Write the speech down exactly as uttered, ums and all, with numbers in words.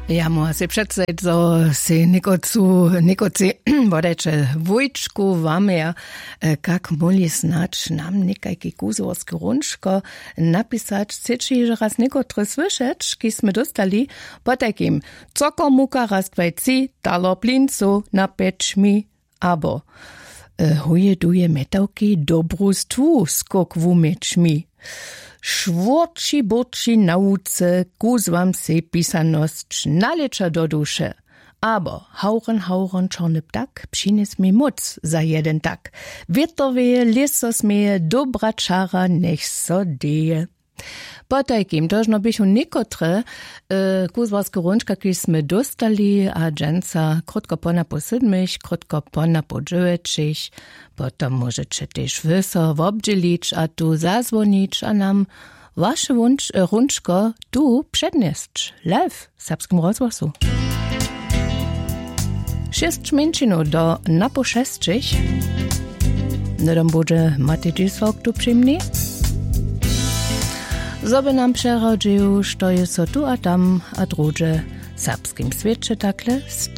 Ja móhła sej předstajić zo sej někotcu někotcej wodajće wójčku wamja. Kak móhli snadź nam někajki kuzłorske hrónčko napisać? Chceće hižo raz někotre słyšeć kiž smy dóstali? Potajkim: cokomuka raz dwaj tři, taler plincow na pjeć mi. Abo huje duje mjetawki dobru stwu skok wuměć mi. Šwórči bórči na łuce kuzłam sej pisanosć nalěća do duše. Abo hawren hawren čorny ptak přinjes mi móc za jeden tak. Wětowje lěso směje dobra čara njech so deje. Potajkim tožno běchu někotre kuzłarske hrónčka kiž smy dóstali a dźensa krótko ponapoł sydmich krótko ponapoł dźewjećich. Potom móžeće tež wy so wobdźělić a tu zazwonić a nam waše hrónčko tu přednjesć live w serbskim rozhłosu. Šěsć mjeńšinow do napoł šesćich. Hnydom budźe Matej Dźisławk tu při mni, zo by nam přeradźił što je so tu a tam a druhdźe w serbskim swěće takle stało.